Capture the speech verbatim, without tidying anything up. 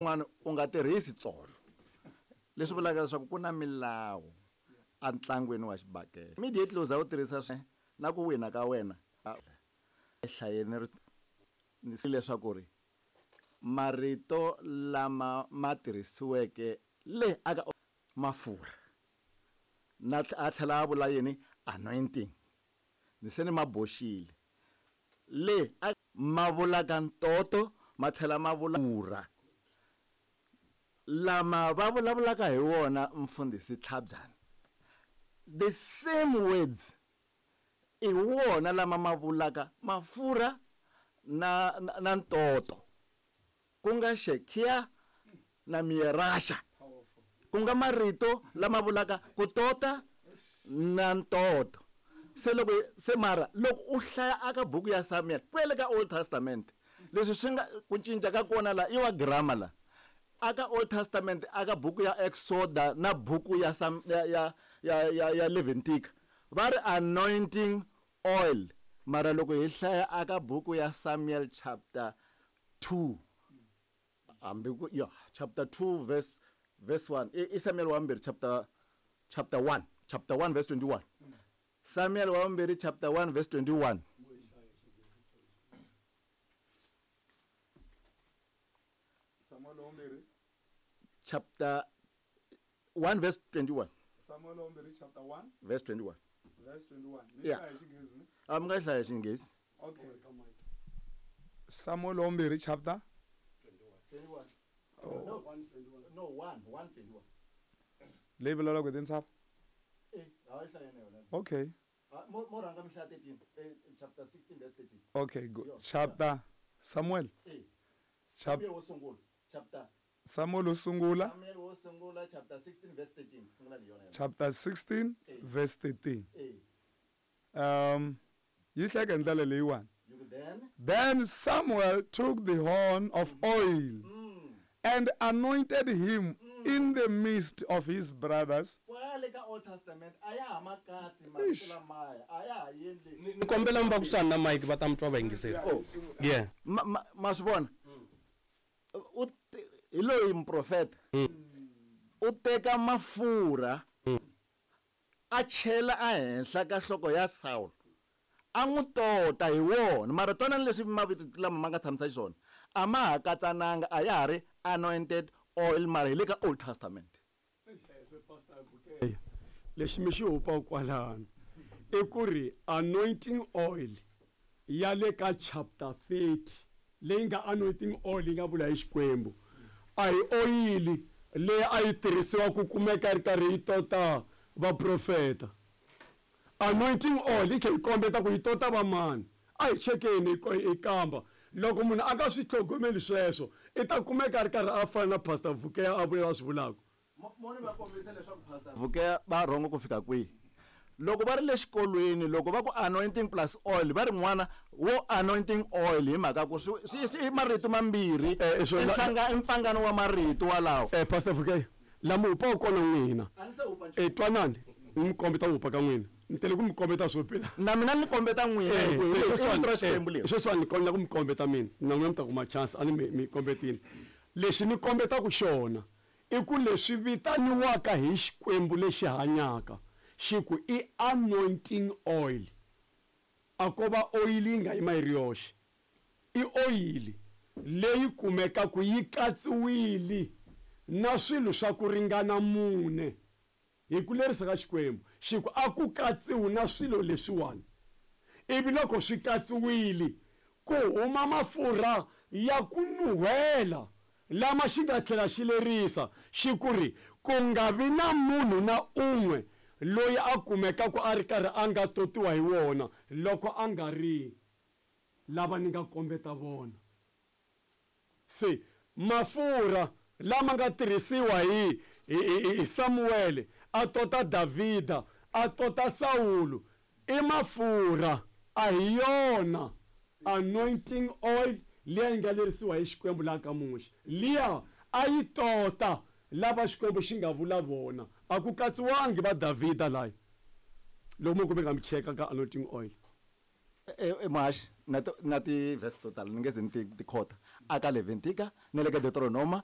N'wana u nga tirhisi tsolo. Leswi vulaka leswaku ku na milawu entlangwini wa xibakele. Immediately u za u tirhisa swi na ku wina ka wena. Hlayeni ri ni leswaku ri marito lama ma tirhisiweke le aka mafurha na a tlhela a vula yini anointing ni se ni ma boxile le ma vulaka ntoto ma tlhela ma vula furha lama va vulavulaka hi wona mfundhisi Tlhabyana the same words i wona lama ma vulaka mafurha na na, na ntoto ku nga shekia na mierasha ku nga marito lama vulaka ku tota na ntoto. Se loko se mara loko u hlaya aka buku ya Samuel kwele ka Old Testament leswi swi nga ku cinca ka kona la i wa grammar la aka Old Testament aka buku ya Exoda na buku ya Sam, ya ya ya ya, ya Leviticus va ri anointing oil mara loko hi hlaya aka buku ya Samuel chapter two hambi ku ya chapter two verse verse one i Samuel wa vumbirhi chapter chapter one chapter one verse twenty-one Samuel wa vumbirhi chapter one verse twenty-one Samuel wa vumbirhi chapter one verse twenty-one Samuel wa vumbirhi chapter one verse twenty-one verse twenty-one ni hlaya Xinghezi ni a mi nga hlaya Xinghezi. Okay, Samuel wa vumbirhi chapter twenty-one Oh. No, no, one, one twenty-one. Leyi vulavulaka hi tintshava? Eh, a yi hlaya na yona. Okay. Mo mo rhanga mi hlaya thirteen, eh, chapter sixteen verse thirteen. Okay, good. Chapter Samuel. Eh. Chapter wo sungula, chapter Samuel wo sungula. Samuel wo sungula chapter sixteen verse thirteen. Sungula ni yona. Chapter sixteen verse thirteen. Eh. Um yi hlaya hi ndlela leyiwani. Then Then Samuel took the horn of oil mm. and anointed him mm. in the midst of his brothers. Kwale ka Old Testament aya ha makatsi marito lamaya aya ha yendli. Ni kombela mi va kusuhani na mic va ta mi twa va yingisela. Yeah. Ma ma swi vona? U hi loyi muprofeta. U teka mafurha a chela ehenhla ka nhloko ya Saul. A n'wi tota hi wona mara twana leswi mavito lama ma nga tshamisa xiswona a ma ha katsananga a ya ha ri anointed oil mara hi le ka Old Testament. Lexi mi xi hupa kwalano i ku ri anointing oil ya le ka chapter thirty leyi nga anointing oil yi nga vula hi Xikwembu a hi oyili leyi a yi tirhisiwa ku kumeka ri karhi yi tota vaprofeta. Anointing oil yi tlhela yi kombeta ku yi tota va mani a hi chekeni hi kamba loko munhu a nga swi tlhogomeli sweswo i ta kumeka a ri karhi a fana na Pastor Vukeya a vula swi vulaka. Moni va kombisa leswaku Pastor Vukeya va rhongo ku fika kwihi loko va ri le xikolweni loko va ku anointing plus oil va ri n'wana wo anointing oil hi mhaka ku swi i marito mambirhi i mpfangano wa marito walawo. Eh Pastor Vukeya lama hupa kona n'wina eh twanani mi kombeta hupa ka n'wina ni tele ku mi kombeta swo pela na mina ni kombeta n'wina sweswiwani ni kombela ku mi kombeta mina na n'wina mi ta kuma chance a ni mi mi kombetini lexi ni kombetaka xona i ku leswi vitaniwaka hi Xikwembu lexi hanyaka xi ku i anointing oil a ko va oil yi nga yima yi ri yoxe i oyili leyi kumekaka yi katsiwile na swilo swa ku ringana mune hi ku lerisa ka Xikwembu xi ku a ku katsiwi na swilo leswiwani ivi loko swi katsiwile ku huma mafurha ya ku nuhela lama xi nga tlhela xi lerisa xi ku ri ku nga vi na munhu na un'we loyi a kumekaka a ri karhi a nga totiwa hi wona loko a nga ri lava ni nga kombeta vona. Se mafurha lama nga tirhisiwa hi hi Samuel a tota Davhida a tota Saul i mafurha a hi yona anointing oil liya yi nga lerisiwa hi Xikwembu laha ka Muxe liya a yi tota lava Xikwembu xi nga vula vona a ku katsiwangi va Davhida layi loko mo kumeka mi cheka ka anointing oil. E Mahaxi na na ti verse total ni nge ze ni ti ti khota Aka Leventika na le ka Deuteronoma.